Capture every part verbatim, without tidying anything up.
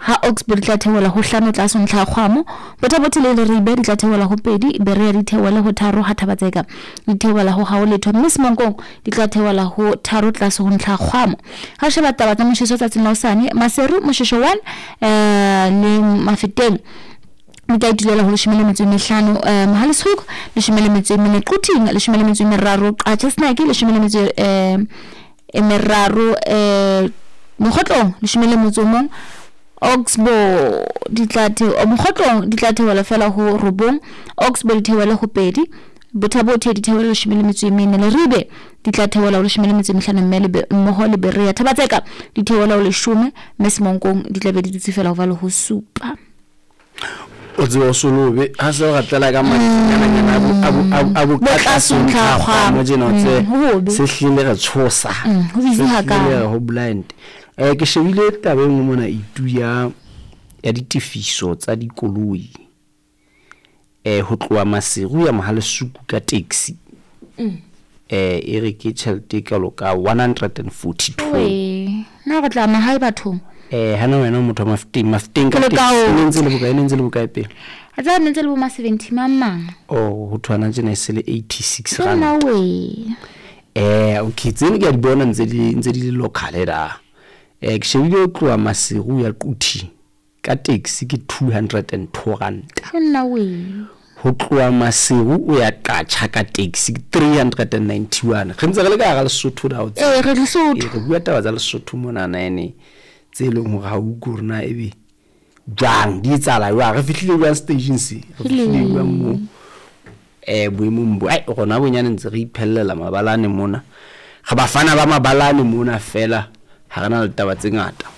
Ha Oxbow di tla theohela ho hlano tlase ho ntlha ya kgwamo. Botha-Bothe le Leribe di tla theohela ho pedi, Berea di theohele ho tharo, ha Thaba-Tseka di theohela ho hao letho, mme Semonkong di tla theohela ho tharo tlase ho ntlha ya kgwamo. Ha o sheba taba tsa motjheso tsatsing la hosane, Maseru moshesho one eh le Mafeteng di tla itulela ho leshome le metso e mehlano, eh Mohale'shoek leshome le metso e mene, Quthing leshome le metso e meraro, Qacha's Nek leshome le metso eh e meraro, eh Mokgotlong leshome le motso o mong, Oxbow di tla theo Mokgotlong di tla theohela fela ho robong, Oxbow di theohele ho pedi, Botha-Bothe di theohele leshome le metso e mene, Leribe di tla theohela ho leshome le metso e mehlano mme le be mmoho le Berea. Thaba-Tseka di theohela ho leshome, mme Semonkong di tla be di dutse fela ho ba le ho supa. O tsebe o solobe ha se o ratela ka matsanyananyana a bo- a bo- a bo- a bo ka tlase ho ntlha ya kgwamo tjena o tsebe Mm, ho hobe. se hlile re tshosa. Mm, ho busy Se hakalo. hlile re ho blind. Eh ke shebile taba e nngwe mona itu ya ya ditefiso tsa dikoloi. Eh ho tloha Maseru ya Mohale'shoek ka taxi. Eh e re ke tjhelete e kalo ka one hundred and forty-two. Wee, na re tla mahae bathong. Eh hana wena o motho wa Mafeteng, Mafeteng ka Ke le taxi. ka o- E ne ntse le bokae, e ne ntse le bokae pele? A tseba ne ntse le bo ma seventy mang mang. Oh, ho thwana tjena e se le eighty-six Ke rand. nna wee. Eh okay, tseno ke a di bona ntse di ntse di le local da. Eh ke shebile ho tloha Maseru ya Quthing ka taxi ke two hundred and two rand. Ke nna wee. Ho tloha Maseru o ya Qacha ka taxi ke three hundred and ninety-one. Re ntse re le ka hara Lesotho da o tseba. Eh re Lesotho. Eh, re bua taba tsa Lesotho mona na ene tse leng hore ha o utlwe hore na ebe jwang di etsahala jwang, re fihlile jwang stageng se, re fihlile jwang mo eh boemong bo. Ai rona bonyane ntse re iphellela mabalane mona, re bafana ba mabalane mona fela, ha re na le taba tse ngata,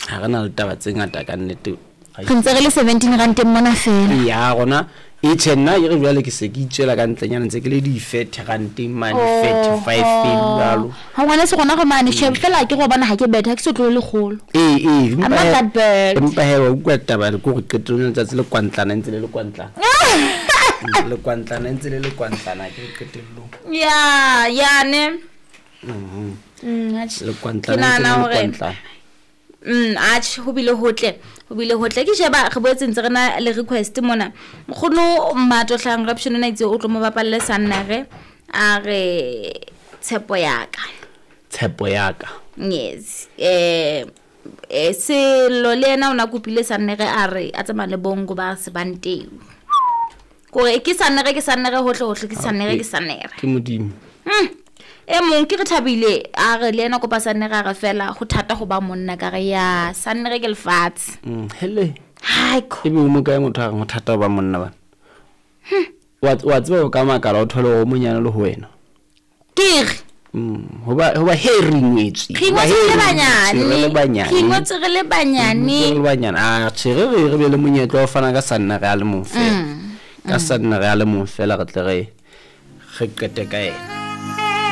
ha re na le taba tse ngata ka nnete. Re ntse re le seventeen rand mona fela. Ya rona e tjhe nna ke re jwale ke se ke itswela ka ntlenyana ntse ke le di thirty rand mane, Oh, thirty-five jwalo. Ha ngwana se rona re mane shebe fela ke go bona ha ke betha ke se tlo le kgolo. Eh eh I'm not that bad. Empa he wa utlwa taba ke gore qetellong ya letsatsi le kwantlana ntse le le kwantlana. Le kwantlana ntse le le kwantlana ke qetellong. Ya, ya ne. Mhm. Mm, atjhe. Le Ke kwantlana ntse nahana le le hore kwantlana. Mm, atjhe ho bile hotle, ho bile hotle. Ke sheba re boetse ntse re na le request mona. Nkgono Mmato Hlang Raption o na itse o tlo mo bapalle Sannere a re tshepo ya ka. Tshepo ya ka. Yes. Eh eh Sello le yena o na kopile Sannere a re a tsamaya le Bongo ba Sebanteu. Kore ke Sannere ke Sannere hohle hohle ke Sannere ke Sannere. Ke Modimo. Mm. E mong ke re thabile a re le yena kopa Sannere a re fela ho thata ho ba monna ka re ya Sannere ke lefatshe. Mm, hele. Haiko. Ebe o mo kae motho a reng ho thata ho ba monna bana? Wa wa tseba o ka makala o thole hore o monyane le ho wena. Ke re. Mm, hoba hoba he re ngwetswe. Re ngwetswe re le banyane. Re le banyane. Re ngwetswe re le banyane. Re le banyane. Ah, tjhe, re re re be le monyetla wa ho fana ka Sannere a le mong fela. Mm. Ka Sannere a le mong fela re tle re re qete ka yena.